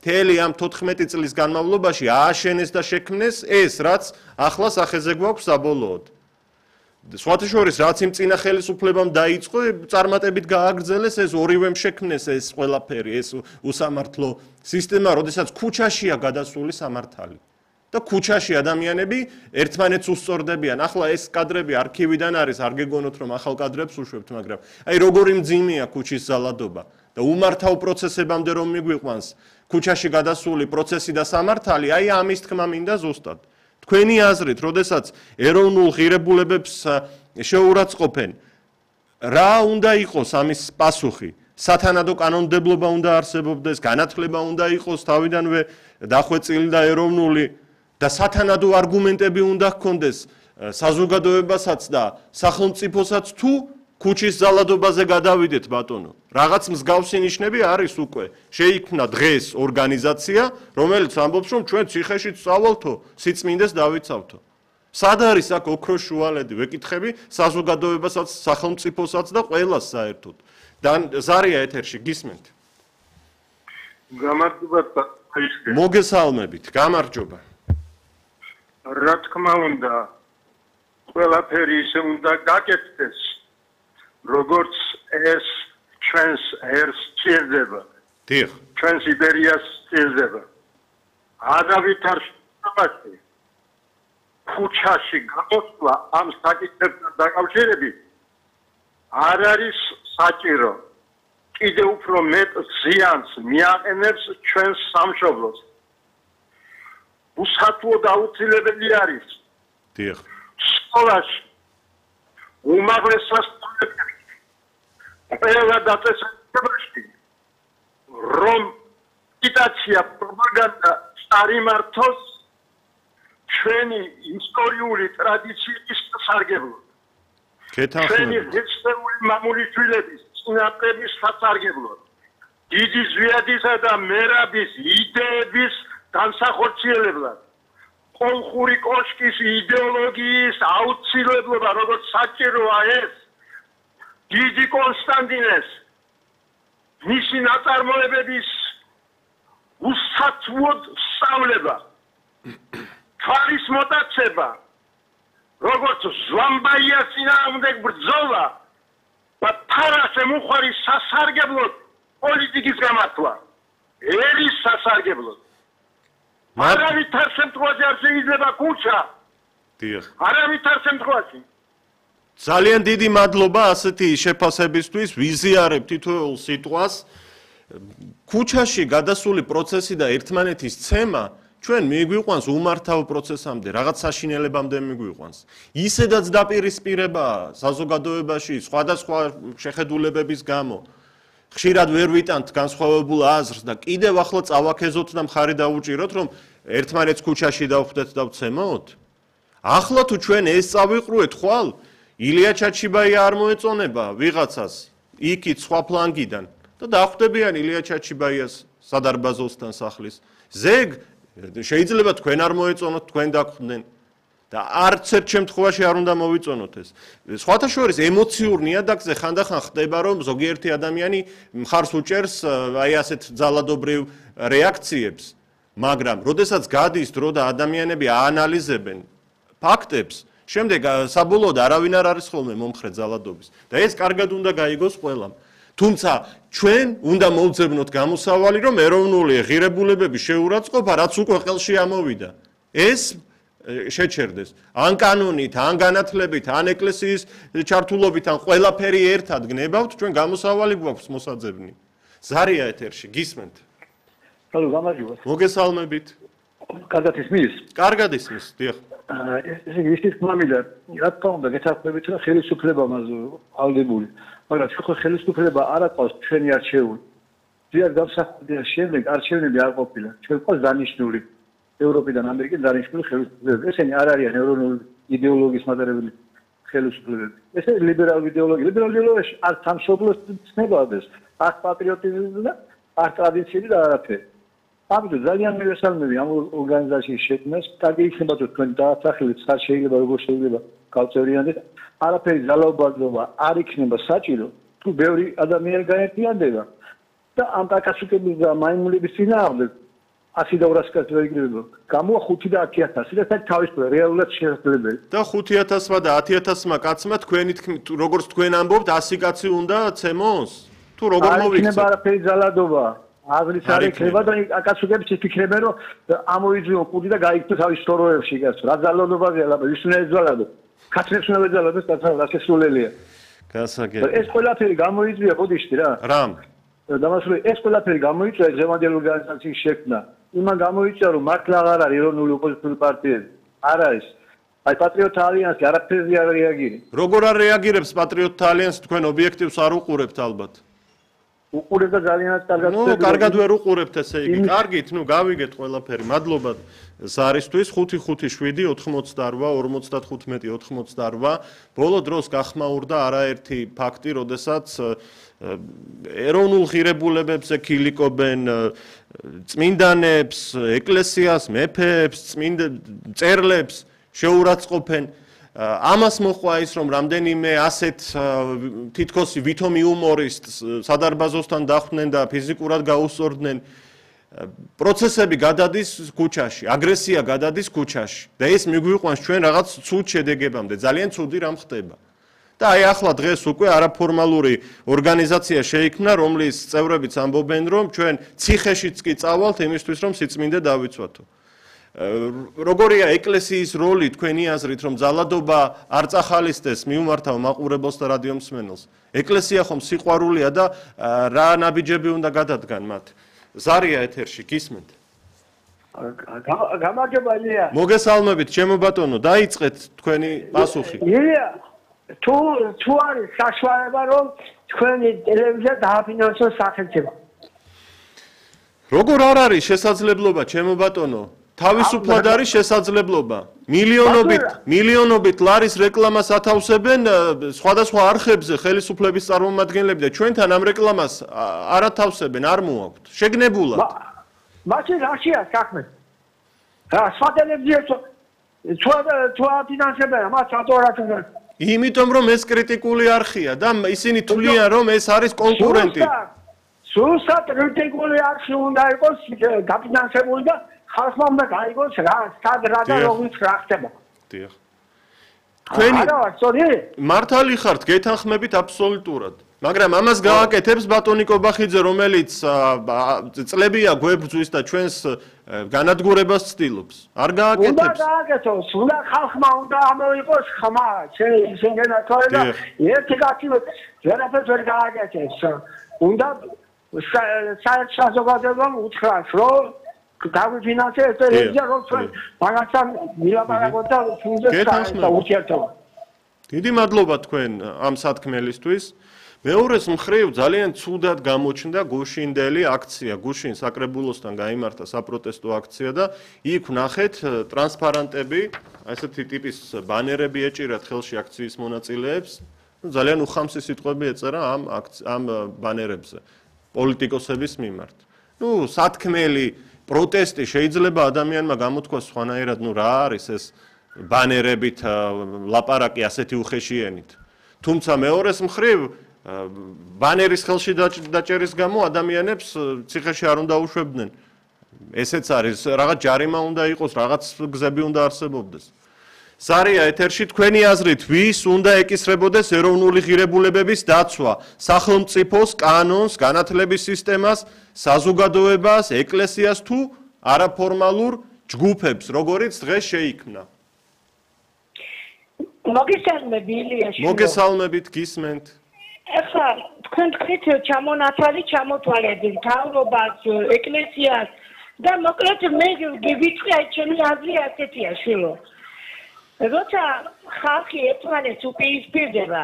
მთელი ამ 14 წლის განმავლობაში ააშენეს და შექმნეს ეს, რაც ახლა სახეზე გვაქვს საბოლოოდ. სხვათა შორის, რაც იმ წინა ხელისუფლებამ დაიწყო, წარმატებით გააგრძელეს ეს ორივემ შექმნეს ეს ყველაფერი, ეს უსამართლო სისტემა, როდესაც ქუჩაშია გადასული სამართალი. და ქუჩაში ადამიანები ერთმანეთს უსწორდებიან. ახლა ეს კადრები არქივიდან არის, არ გეგონოთ რომ ახალ კადრებს უშვებთ, მაგრამ აი როგორი მძიმეა ქუჩის ზალადობა და უმართავ პროცესებამდე რომ მიგვიყვანს ქუჩაში გადასული პროცესი და სამართალი, აი ამის თქმა მინდა ზუსტად. თქვენი აზრით, როდესაც ეროვნულ ღირებულებებს შეურაცხყოფენ, რა უნდა იყოს ამის პასუხი? სათანადო კანონმდებლობა უნდა არსებობდეს, განათლება უნდა იყოს თავიდანვე დახვეწილი და ეროვნული და სათანადო არგუმენტები უნდა ჰქონდეს საზოგადოებასაც და სახელმწიფოსაც თუ ქუჩის ზალადობაზე გადავიდეთ ბატონო. რაღაც მსგავსი ნიშნები არის უკვე. შეიქმნა დღეს ორგანიზაცია, რომელიც ამბობს, რომ ჩვენ ციხეში წავალთო, სიწმინდეს დავიცავთო. სად არის აქ ოქროს შუალედი? ვეკითხები საზოგადოებასაც, სახელმწიფოსაც და ყველას საერთოდ. და ზარია ეთერში გისმენთ. გამარჯობა. მოგესალმებით, გამარჯობა. რა თქმა უნდა, ყველაფერი ისე უნდა გაკეთდეს, როგორც ეს ჩვენს ერს სჭირდება. დიახ. ჩვენს იბერიას სჭირდება. არავითარში ქუჩაში გამოსვლა ამ საკითხებთან დაკავშირებით არ არის საჭირო. კიდევ უფრო მეტ ზიანს მიაყენებს ჩვენს სამშობლოს. უსათუოდ აუცილებელი არის. დიახ. სკოლაში უმაღლეს სასწავლებლებში ყველა დაწესებულებაში რომ აგიტაცია, პროპაგანდა წარიმართოს ჩვენი ისტორიული ტრადიციის სასარგებლოდ. ჩვენი ღირსეული მამული შვილების წინაპრების სასარგებლოდ. დიდი ზვიადისა და მერაბის იდეების განსახორციელებლად. კოლხური კოშკის იდეოლოგიის აუცილებლობა, როგორც საჭიროა ეს, დიდი კონსტანტინეს მისი ნაწარმოებების უსათუოდ სწავლება, თვალის მოტაცება, როგორც ზვამბაიას წინააღმდეგ ბრძოლა და თარასემუხვარი სასარგებლოდ პოლიტიკის გამართვა, ერის სასარგებლოდ. არავითარ შემთხვევაში არ შეიძლება ქუჩა. დიახ. არავითარ შემთხვევაში. ძალიან დიდი მადლობა ასეთი შეფასებისთვის, ვიზიარებ თითოეულ სიტყვას. ქუჩაში გადასული პროცესი და ერთმანეთის ცემა ჩვენ მიგვიყვანს უმართავ პროცესამდე, რაღაც საშინელებამდე მიგვიყვანს. ისედაც დაპირისპირებაა საზოგადოებაში სხვადასხვა შეხედულებების გამო. ხშირად ვერ ვიტანთ განსხვავებულ აზრს და კიდევ ახლა წავაქეზოთ და მხარი დაუჭიროთ, რომ ერთმანეთს ქუჩაში დავხვდეთ და ვცემოთ. ახლა თუ ჩვენ ეს წავიყრუეთ ხვალ, ილია ჩაჩიბაია არ მოეწონება ვიღაცას იქით სხვა ფლანგიდან და დახვდებიან ილია ჩაჩიბაიას სადარბაზოსთან სახლის. ზეგ შეიძლება თქვენ არ მოეწონოთ, თქვენ დაგხვდნენ და არც ერთ შემთხვევაში არ უნდა მოვიწონოთ ეს. სხვათა შორის ემოციურ ნიადაგზე ხანდახან ხდება, რომ ზოგიერთი ადამიანი მხარს უჭერს აი ასეთ ძალადობრივ რეაქციებს, მაგრამ როდესაც გადის დრო და ადამიანები აანალიზებენ ფაქტებს, შემდეგ საბოლოოდ არავინ არ არის ხოლმე მომხრე ძალადობის და ეს კარგად უნდა გაიგოს ყველამ. თუმცა ჩვენ უნდა მოვძებნოთ გამოსავალი, რომ ეროვნული ღირებულებების შეურაცხყოფა რაც უკვე ხელში ამოვიდა, ეს შეჩერდეს. ან კანონით, ან განათლებით, ან ეკლესიის ჩართულობით, ან ყველაფერი ერთად გნებავთ, ჩვენ გამოსავალი გვაქვს მოსაძებნი. ზარია ეთერში, გისმენთ. ჰალო, გამარჯობა. მოგესალმებით. კარგად ისმის? კარგად ისმის, დიახ. ესე იგი ის თქმა მინდა, რა თქმა უნდა, გეთანხმებით, რომ ხელისუფლება ალდებული, მაგრამ ხო ხელისუფლება არ აყავს ჩვენი არჩეული. ზიად გამსახურდიან შემდეგ არჩევნები არ ყოფილა. ჩვენ ყავს დანიშნული ევროპიდან ამერიკიდან დანიშნული ხელისუფლებები. ესენი არ არიან ეროვნული იდეოლოგიის მატარებელი ხელისუფლებები. ეს ლიბერალური იდეოლოგია. ლიბერალური იდეოლოგიაში არ სამშობლოს ცნებადეს, არ პატრიოტიზმი და არ ტრადიციები და არაფერი. ამიტომ ძალიან მივესალმები ამ ორგანიზაციის შექმნას. კარგი იქნება თუ თქვენ დაასახელეთ, სად შეიძლება როგორ შეიძლება გავწევრიანდეთ. არაფერი ძალაუფლება არ იქნება საჭირო, თუ ბევრი ადამიანი გაერთიანდება და ამ კაკასუკების და მაიმუნების წინააღმდეგ 100 და 200 კაცი ვერ იგროვებოდა. გამოვა 5 და 10000 და საერთოდ თავისუფლად რეალურად შესაძლებელი. და 5000-მა და 10000-მა კაცმა თქვენი თქმით, როგორც თქვენ ამბობთ, 100 კაცი უნდა ცემოს? თუ როგორ არ მოვიქცეთ? იქნება არაფერი ძალადობა. აზრით არ იქნება და აკაცუგებს იფიქრებენ რომ ამოიძიო კუდი და გაიქცო თავის სტოროებში გასულ. რა ძალადობაა ლაბა, ვის უნდა ეძალადო? კაცებს უნდა ეძალადოს და შესრულელია. გასაგებია. ეს ყველაფერი გამოიწვია ბოდიში რა. რამ? დამასრულე ეს ყველაფერი გამოიწვია ღევანდელი ორგანიზაციის შექმნა. იმან გამოიწვია რომ მართლა აღარ არის ეროვნული ოპოზიციური პარტიები. არ არის. აი პატრიოტთა ალიანსი არაფერზე არ რეაგირებს. როგორ არ რეაგირებს პატრიოტთა ალიანსი თქვენ ობიექტივს არ უყურებთ ალბათ? უყურებ და ძალიანაც კარგად ნუ კარგად ვერ უყურებთ ესე იგი. კარგით, ნუ გავიგეთ ყველაფერი. მადლობა ზარისთვის 557 88 55 88. ბოლო დროს გახმაურდა არაერთი ფაქტი, როდესაც ეროვნულ ღირებულებებზე ქილიკობენ წმინდანებს, ეკლესიას, მეფეებს, წერლებს შეურაცხყოფენ. ამას მოყვა ის, რომ რამდენიმე ასეთ თითქოს ვითომ იუმორისტს სადარბაზოსთან დახვდნენ და ფიზიკურად გაუსწორდნენ. პროცესები გადადის ქუჩაში, აგრესია გადადის ქუჩაში და ეს მიგვიყვანს ჩვენ რაღაც ცუდ შედეგებამდე. ძალიან ცუდი რამ ხდება. და აი ახლა დღეს უკვე არაფორმალური ორგანიზაცია შეიქმნა, რომლის წევრებიც ამბობენ, რომ ჩვენ ციხეშიც კი წავალთ იმისთვის, რომ სიწმინდე დავიცვათო. როგორია ეკლესიის როლი თქვენი აზრით, რომ ძალადობა არ წახალისდეს მიუმართავ მაყურებელს და რადიო მსმენელს? ეკლესია ხომ სიყვარულია და რა ნაბიჯები უნდა გადადგან მათ? ზარია ეთერში, გისმენთ? გამარჯობა ილია. მოგესალმებით, ჩემო ბატონო, დაიწყეთ თქვენი პასუხი. ილია, თუ არის საშუალება, რომ თქვენი ტელევიზია დააფინანსოს სახელმწიფო. როგორ არ არის შესაძლებლობა, ჩემო ბატონო? თავისუფლად არის შესაძლებლობა. მილიონობით ლარის რეკლამას ათავსებენ სხვადასხვა არხებზე ხელისუფლების წარმომადგენლები და ჩვენთან ამ რეკლამას არ ათავსებენ, არ მოაქვთ. შეგნებულად. მაშინ რაშია საქმე? რა სხვა ტელევიზია თუ აფინანსებენ მას ატორატურა. იმიტომ რომ ეს კრიტიკული არხია და ისინი თვლიან რომ ეს არის კონკურენტი. სულსად კრიტიკული არხი უნდა იყოს დაფინანსებული და ხალხმა უნდა გაიგოს რა და როგორ ხდება. დიახ. თქვენი არა ვარ, მართალი ხართ, გეთანხმებით აბსოლუტურად. მაგრამ ამას გააკეთებს ბატონი კობახიძე, რომელიც წლებია გვებრძვის და ჩვენს განადგურებას ცდილობს. არ გააკეთებს. უნდა გააკეთოს, უნდა ხალხმა უნდა ამოიყოს ხმა, შეგენა თორე და ერთი კაცი ვერაფერს ვერ გააკეთებს. უნდა საერთო საზოგადოებამ უთხრას, რომ გავიფინანსე ეს ტელევიზია, რომ ჩვენ მაგასთან მილაპარაკოთ და ფუნქციას და ურთიერთობა. დიდი მადლობა თქვენ ამ სათქმელისთვის. მეორეს მხრივ ძალიან ცუდად გამოჩნდა გუშინდელი აქცია. გუშინ საკრებულოსთან გაიმართა საპროტესტო აქცია და იქ ვნახეთ ტრანსპარანტები, ასეთი ტიპის ბანერები ეჭირათ ხელში აქციის მონაწილეებს. ძალიან უხამსი სიტყვები ეწერა ამ ბანერებზე პოლიტიკოსების მიმართ. სათქმელი პროტესტი შეიძლება ადამიანმა გამოთქვას სხვანაირად, რა არის ეს ბანერებით ლაპარაკი ასეთი უხეშიენით. თუმცა მეორეს მხრივ ბანერის ხელში დაჭერის გამო ადამიანებს ციხეში არ უნდა უშვებდნენ. ესეც არის, რაღაც ჯარიმა უნდა იყოს, რაღაც გზები უნდა არსებობდეს. ზარია ეთერში, თქვენი აზრით, ვის უნდა ეკისრებოდეს ეროვნული ღირებულებების დაცვა? სახელმწიფოს, კანონს, განათლების სისტემას, საზოგადოებას, ეკლესიას თუ არაფორმალურ ჯგუფებს, როგორიც დღეს შეიქმნა? მოგესალმებით, გისმენთ. ეხლა თქვენ თქვით ჩამონათვალი ჩამოთვალებით მთავრობას, ეკლესიას და მოკლედ მე გივიწყე ჩემი აზრი ასეთია შვილო. როცა ხალხი ერთმანეთს უპირისპირდება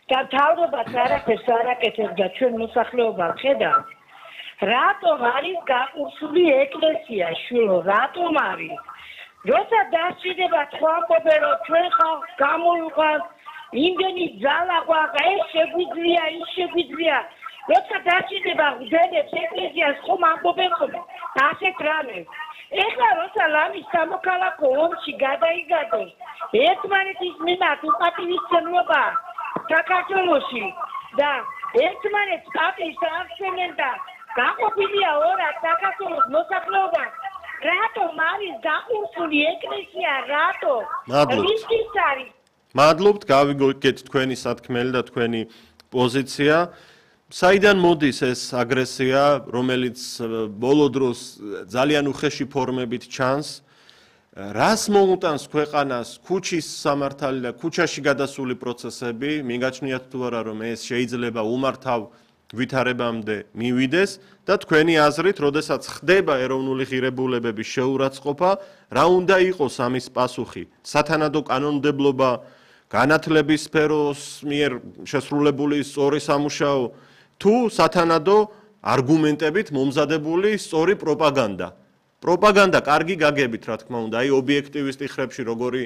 და მთავრობაც არაფერს არ აკეთებს და ჩვენ მოსახლეობა ხედავთ, რატომ არის გაკურსული ეკლესია შვილო, რატომ არის? როცა დასჭირდება თქვა ამბობენ რომ ჩვენ ხალხს გამოვიყვანთ იმდენი ძალა გვაქვს, ეს შეგვიძლია, ის შეგვიძლია. როცა დასჭირდება გვდენებს ეკლესიას ხომ ამბობენ რომ ასეთ რამეს. ეხლა როცა ლამის სამოქალაქო ომში გადაიგადოს ერთმანეთის მიმართ უპატივისცემლობა საქართველოში და ერთმანეთს პატივს აღწევენ და გაყოფილია ორად საქართველოს მოსახლეობა. რატომ არის გაყურსული ეკლესია, რატო? რისკიც არის? მადლობთ, გავიგეთ თქვენი სათქმელი და თქვენი პოზიცია. საიდან მოდის ეს აგრესია, რომელიც ბოლო დროს ძალიან უხეში ფორმებით ჩანს? რას მოუტანს ქვეყანას ქუჩის სამართალი და ქუჩაში გადასული პროცესები? მიგაჩნიათ თუ არა, რომ ეს შეიძლება უმართავ ვითარებამდე მივიდეს და თქვენი აზრით, როდესაც ხდება ეროვნული ღირებულებების შეურაცხყოფა, რა უნდა იყოს ამის პასუხი? სათანადო კანონმდებლობა, განათლების სფეროს მიერ შესრულებული სწორი სამუშაო, თუ სათანადო არგუმენტებით მომზადებული სწორი პროპაგანდა? პროპაგანდა კარგი გაგებით, რა თქმა უნდა, აი ობიექტივისტი ხრებში როგორი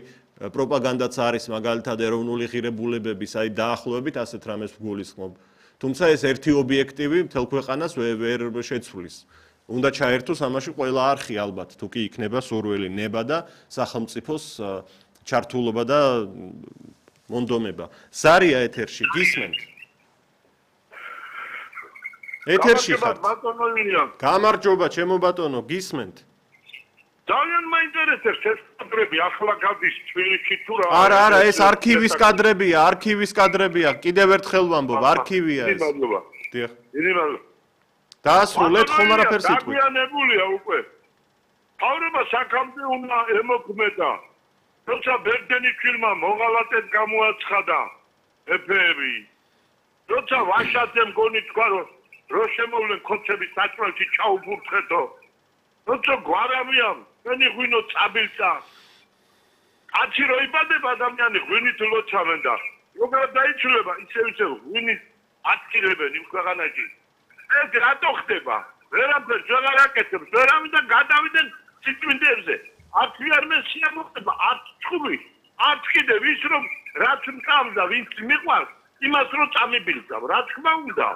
პროპაგანდაც არის, მაგალითად ეროვნული ღირებულებების, აი დაახლოებით ასეთ რამეს ვგულისხმობ. თუმცა ეს ერთი ობიექტივი მთელ ქვეყანას ვერ შეცვლის. უნდა ჩაერთოს ამაში ყველა არხი ალბათ, თუ კი იქნება სურვილი ნება და სახელმწიფოს ჩართულობა და მონდომება. სარია ეთერში, გისმენთ? ეთერში ხართ? გამარჯობა, ჩემო ბატონო, გისმენთ? ძალიან მაინტერესებს ეს კადრები, ახლა გადის თბილისში თუ რა. არა, ეს არქივის კადრებია, კიდევ ერთხელ ვამბობ, არქივია ეს. დიახ. დაასრულეთ ხომ არაფერს იტყვით. დაგვიანებულია უკვე. თავრობა საქამდე უნდა ემოქმედა. როცა ბერდენის ფილმმა მოღალატედ გამოაცხადა ეფები. როცა ვაშაძემ გონი თქვა რომ შემოვლენ ქოცების საჭმელში ჩაუბურთხეთო. როცა გვარამიამ მენი ღვინო წაბილსა. კაცი რო იბადება ადამიანი ღვინით ლოცავენ და როგორ დაიცვლება ისე ღვინის აწილებენ იმ ქვეყანაში. ეს რატო ხდება? ვერაფერს ვეღარ აკეთებს, ვერავიდან გადავიდნენ სიწმინდეებზე. არც ვიარ მე შეამოხდება, არც ჭუბი, არც კიდევ ის რომ რაც მყავს და ვინც მიყვარს, იმას რო წამიბილწავ, რა თქმა უნდა.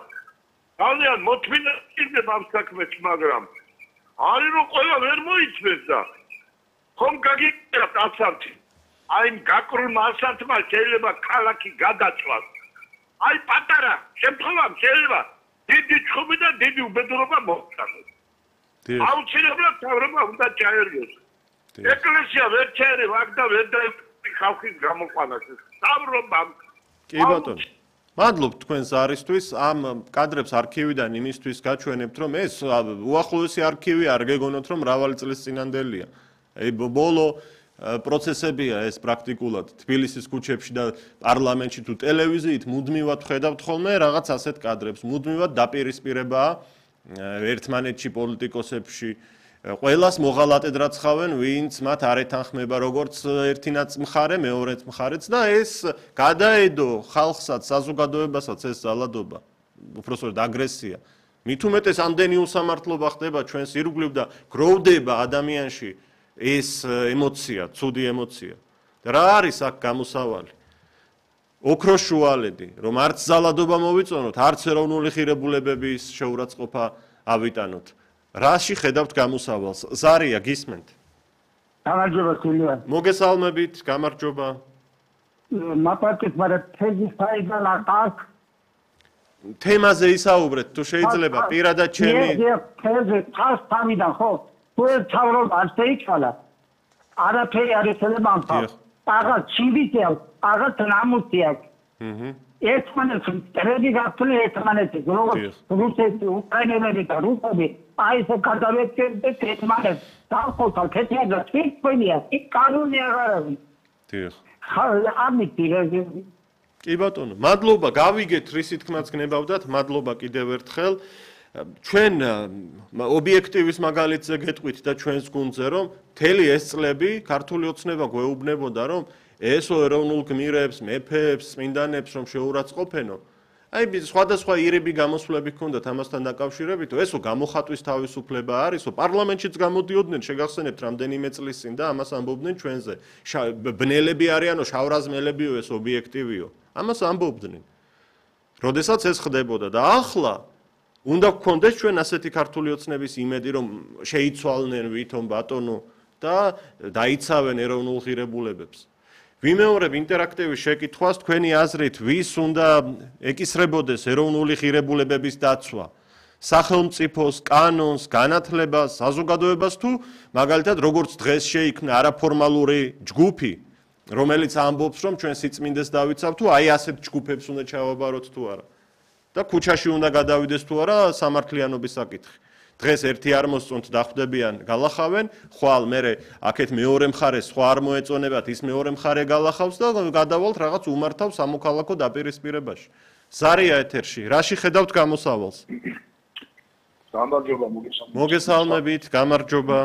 ძალიან მოთმინა იქნება ამ საქმეს, მაგრამ არის რომ ყველა ვერ მოიცმეს და ხომ გაგიწერებთ ასართი. აი გაკრულმა ასართმა შეიძლება ქალაქი გადაწვას. აი პატარა შემთხვევამ შეიძლება დიდი ჭუბი და დიდი უბედურობა მოხდეს. აუცილებლად თავრობა უნდა ჩაერგოს. ეკლესია ვერ ჩაერევა აქ და ვერ დაიწყო ხალხის გამოყვანას. თავრობამ. კი ბატონო. მადლობთ თქვენს არისთვის, ამ კადრებს არქივიდან იმისთვის გაჩვენებთ, რომ ეს უახლოესი არქივი არ გეგონოთ, რომ მრავალი წლის წინანდელია. აი ბოლო პროცესებია ეს პრაქტიკულად თბილისის ქუჩებში და პარლამენტში თუ ტელევიზიით მუდმივად ხედავთ ხოლმე რაღაც ასეთ კადრებს, მუდმივად დაპირისპირებაა ერთმანეთში პოლიტიკოსებში ყველას მოღალატედ რაცხავენ, ვინც მათ არ ეთანხმება როგორც ერთინაც მხარე, მეორეც მხარეც და ეს გადაედო ხალხსაც, საზოგადოებასაც ეს ზალადობა, უпростоრად აგრესია. მით უმეტეს ამდენი უსამართლობა ხდება ჩვენს ირგვლივ და გროვდება ადამიანში ეს ემოცია, ცუდი ემოცია. და რა არის აქ გამოსავალი? ოქროს შუალედი, რომ არც ზალადობა მოვიწონოთ, არც ეროვნული ღირებულებების შეურაცხყოფა ავიტანოთ. რაში ხედავთ გამოსავალს? ზარია, გისმენთ? გამარჯობა ქულია. მოგესალმებით, გამარჯობა. მაპატეთ, მაგრამ თეზის ფაიდა ნახავს. თემაზე ისაუბრეთ, თუ შეიძლება, პირადად ჩემი. თეზე თავს თავიდან ხო? თუ თავრობა არ შეიცვალა. არაფერი არ ეცედება ამ თავს. აღარ ჩივიდია, აღარ ნამუსია. ერთმანეთს ტრედი გასული ერთმანეთი, როგორც რუსეთი, უკრაინელები და რუსები, აი ეს გადავეცემთ ერთმანეთს. დავხოცავ ქეთიადა თვითმფრინია, იქ კანონი აღარ არის. დიახ. ამიტომ კი ბატონო, მადლობა, გავიგეთ რისი თქმაც გნებავდათ, მადლობა კიდევ ერთხელ. ჩვენ ობიექტივის მაგალითზე გეტყვით და ჩვენს გუნდზე, რომ მთელი ეს წლები ქართული ოცნება გვეუბნებოდა, რომ ესო ეროვნულ გმირებს, მეფეებს, წმინდანებს რომ შეურაცხყოფენო. აი სხვადასხვა ირები გამოსვლები ჰქონდათ ამასთან დაკავშირებით, ესო გამოხატვის თავისუფლება არისო, პარლამენტშიც გამოდიოდნენ, შეგახსენებთ რამდენიმე წლის წინ და ამას ამბობდნენ ჩვენზე. ბნელები არიანო, შავრაზმელებიო ეს ობიექტივიო. ამას ამბობდნენ. როდესაც ეს ხდებოდა და ახლა უნდა გქონდეს ჩვენ ასეთი ქართული ოცნების იმედი, რომ შეიცვალნენ ვითომ ბატონო და დაიცავენ ეროვნულ ღირებულებებს. ვიმეორებ ინტერაქტივის შეკითხვას, თქვენი აზრით, ვის უნდა ეკისრებოდეს ეროვნული ღირებულებების დაცვა? სახელმწიფოს, კანონს, განათლებას, საზოგადოებას თუ მაგალითად როგორც დღეს შეიქმნა არაფორმალური ჯგუფი, რომელიც ამბობს, რომ ჩვენ სიწმინდეს დავიცავთ თუ აი ასეთ ჯგუფებს უნდა ჩავაბაროთ თუ არა. და ქუჩაში უნდა გადავიდეს თუ არა სამართლიანობის საკითხი. დღეს ერთი არ მოსწონთ დახვდებიან, გალახავენ, ხვალ მე აქეთ მეორე მხარეს სხვა არ მოეწონებათ, ის მეორე მხარე გალახავს და გადავალთ რაღაც უმართავ სამოქალაქო დაპირისპირებაში. ზარია ეთერში, რაში ხედავთ გამოსავალს? გამარჯობა, მოგესალმებით, გამარჯობა.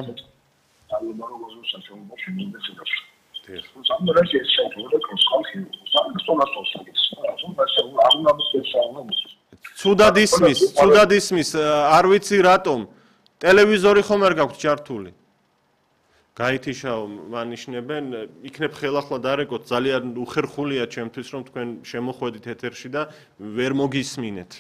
ცუდად ისმის, არ ვიცი რატომ. ტელევიზორი ხომ არ გაქვთ ჩართული? გაითიშაო, მანიშნებენ, იქნებ ხელახლა დარეკოთ, ძალიან უხერხულია ჩემთვის, რომ თქვენ შემოხვედით ეთერში და ვერ მოგისმინეთ.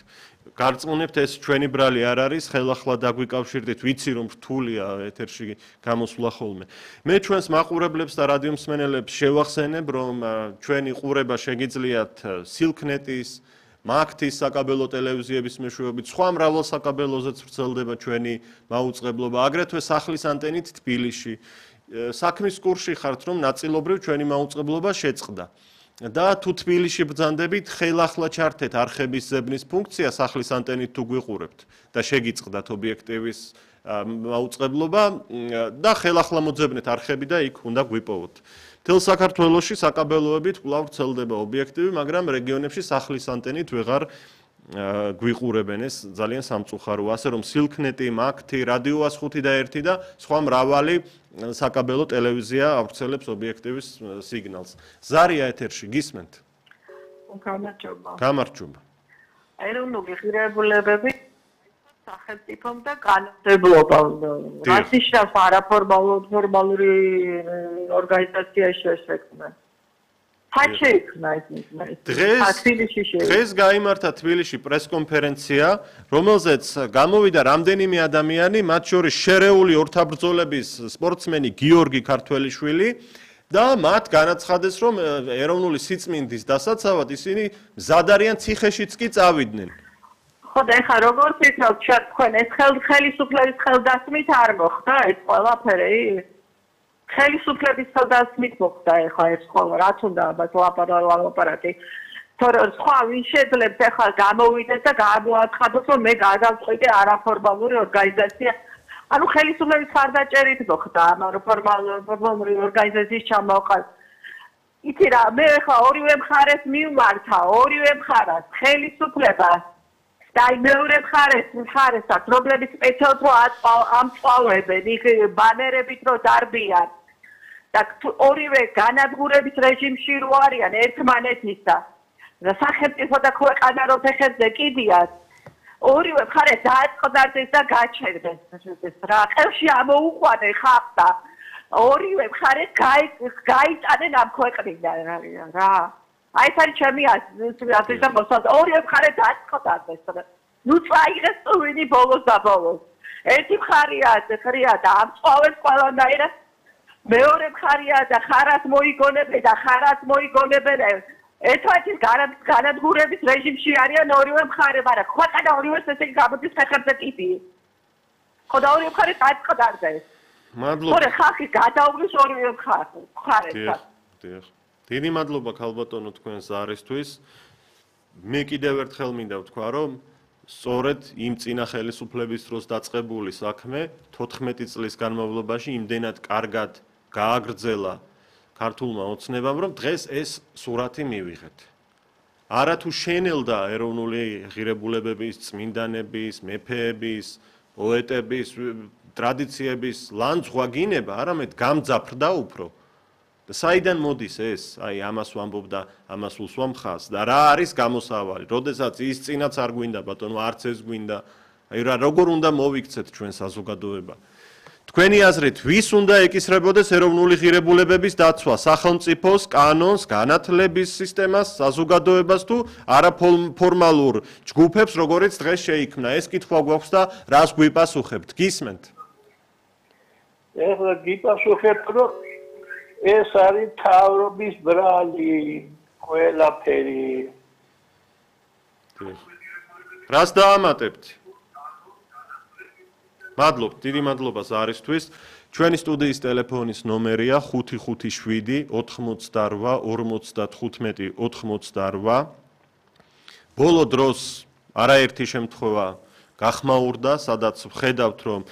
გარწმუნებთ, ეს ჩვენი ბრალი არ არის, ხელახლა დაგვიკავშირდით, ვიცი რომ რთულია ეთერში გამოსვლა ხოლმე. მე ჩვენს მაყურებლებს და რადიო მსმენელებს შევახსენებ, რომ ჩვენი ყურება შეგიძლიათ სილქნეტის, მაგთის საკაბელო ტელევიზიების მეშვეობით, სხვა მრავალ საკაბელოზეც ვრცელდება ჩვენი მაუწყებლობა, აგრეთვე სახლის ანტენით თბილისში. საქმის კურსში ხართ, რომ ნაწილობრივ ჩვენი მაუწყებლობა შეწყდა. და თუ თბილისში ბრძანდებით, ხელახლა ჩართეთ არხების ზებნის ფუნქცია სახლის ანტენით თუ გვიყურებთ და შეგიწყდათ ობიექტივის მაუწყებლობა და ხელახლა მოძებნეთ არხები და იქ უნდა გვიპოვოთ. თელ საქართველოში საკაბელოებით კვლავ ვრცელდება ობიექტივი, მაგრამ რეგიონებში სახლის ანტენით ვეღარ გვიყურებენ, ეს ძალიან სამწუხაროა, ასე რომ სილქნეტი, მაგთი, რადიო 105 და 1 და სხვა მრავალი საკაბელო ტელევიზია ავრცელებს ობიექტივის სიგნალს. ზარია ეთერში, გისმენთ? გამარჯობა. გამარჯობა. ეროვნული ღირებულებები სახელმწიფომ და კანონმდებლობამ რაც ნიშნავს არაფორმალური ორგანიზაცია შექმნა. დღეს გაიმართა თბილისში პრესკონფერენცია, რომელზეც გამოვიდა რამდენიმე ადამიანი, მათ შორის შერეული ორთაბრძოლების სპორტსმენი გიორგი ქართველიშვილი და მათ განაცხადეს, რომ ეროვნული სიწმინდის დასაცავად ისინი მზად არიან ციხეშიც კი წავიდნენ. ხო და ეხლა როგორც ისმოთ თქვენ ეს ხელისუფლების ხელდასმით არ მოხდა ეს ყველაფერი? ხელისუფლების ხელდასმით მოხდა ეხლა ეს ყველა, რაც უნდა ამას ლაპარაკი. თორემ სხვა ვინ შეძლებს ეხლა გამოვიდეს და გამოაცხადოს, რომ მე გადავწყვიტე არაფორმალური ორგანიზაცია. ანუ ხელისუფლების ხარდაჭერით მოხდა ამ არაფორმალური ორგანიზაციის ჩამოყალ. იცი რა, მე ეხლა ორივე მხარეს მივმართა, ორივე მხარეს ხელისუფლებას და მეორე მხარესაც, რომლებიც სპეციალურად რო ამწყალვებენ, იქ ბანერებით რო დარბიან და ორივე განადგურების რეჟიმში რო არიან ერთმანეთისა და სახელმწიფო და ქვეყანა რო ფეხებზე კიდიათ, ორივე მხარე დააწყდარდეს და გაჩერდეს რა ყელში ამოუყვანე ხალხს და ორივე მხარე გაიტანენ ამ ქვეყნიდან რა. აი ეს არის ჩემი აზრი და მოსაძ ორივე მხარე დააწყდარდეს. ნუ წაიღეს წვენი ბოლოს და ბოლოს. ერთი მხარია და ამწყავებს ყველანაირად. მეორე მხარია და ხარას მოიგონებენ ერთმანეთის განადგურების რეჟიმში არიან ორივე მხარე, მაგრამ ქვეყანა ორივეს ესე გამოდის ფეხებზე კიდი. ხო და ორივე მხარე დააწყდარდეს. მადლობა. ხო ხალხი გადაუგვის ორივე მხარეს. დიდი მადლობა ქალბატონო თქვენ ზარისთვის. მე კიდევ ერთხელ მინდა ვთქვა, რომ სწორედ იმ წინა ხელისუფლების დროს დაწყებული საქმე 14 წლის განმავლობაში იმდენად კარგად გააგრძელა ქართულმა ოცნებამ, რომ დღეს ეს სურათი მივიღეთ. არა თუ შენელდა ეროვნული ღირებულებების, წმინდანების, მეფეების, პოეტების, ტრადიციების ლანძღვა გინება, არამედ გამძაფრდა უფრო. და საიდან მოდის ეს? აი ამას ვამბობდა, ამას უსვამ ხაზს და რა არის გამოსავალი? როდესაც ის წინაც არ გვინდა, ბატონო, არც ეს გვინდა. აი რა როგორ უნდა მოვიქცეთ ჩვენ საზოგადოება? თქვენი აზრით, ვის უნდა ეკისრებოდეს ეროვნული ღირებულებების დაცვა? სახელმწიფოს, კანონს, განათლების სისტემას, საზოგადოებას თუ არაფორმალურ ჯგუფებს, როგორიც დღეს შეიქმნა? ეს კითხვა გვაქვს და რას გვიპასუხებთ? გისმენთ? ეხლა გიპასუხებთ, რომ ეს არის თავრობის ბრალი, ყველაფერი. რას დაამატებთ? მადლობთ, დიდი მადლობა ზარისთვის. ჩვენი სტუდიის ტელეფონის ნომერია 557 88 55 88. ბოლო დროს არაერთი შემთხვევა გახმაურდა, სადაც ვხედავთ, რომ